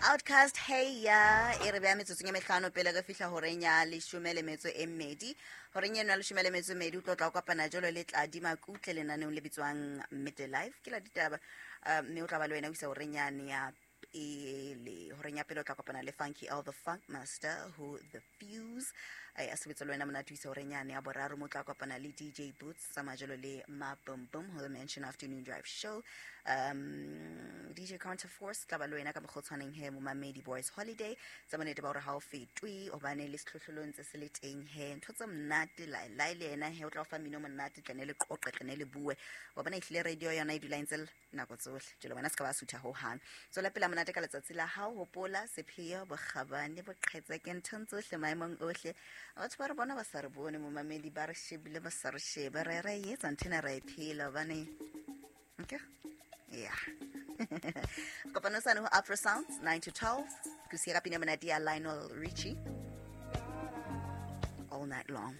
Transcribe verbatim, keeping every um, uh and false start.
Outcast hey ya e re beha metsotsong e mehlano pele re fihla horeng ya leshome le metso e mmedi. Horeng eno ya leshome le metso e mmedi o tlo tla o kopana jalo le Tladi Makutle lenaneong le bitswang Midday Life ke la ditaba, uh, mme o tla ba le wena o isa horeng yane ya pele. Horeng ya pele o tla kopana le Funky L the Funk Master ho The Fuse, eh, a sebetsa le wena monate o isa horeng yane ya boraro, mo tla kopana le D J Boots tsamaya jalo le Ma Boom Boom ho The Mansion Afternoon Drive Show. um D J Counter Force tla ba le wena ka mokgwa o tshwaneng he momamedi Boys Holiday tsa monete ba hore ha o fetwe hobane le sehlohlolong tse se le teng he ntho tse monate lai lai le yena he o tla o fa mmino monate tlene le qoqe tlene le bue wa bona ehlile radio yona e dula e ntse nako tsohle jwale wena se ka ba sutha ho hang. Tswela pele monate ka letsatsi la hao, hopola sepheo bokgabane boqhetseke nthong tsohle maemong ohle. Batho ba re bona ba sa re bone momamedi ba re shebile ba sa re shebe re re etsa nthwena re e phela hobane okay yeah. Kopano sane ho Afro Sounds nine to twelve ke siya ka pina monate ya Lionel Richie all night long.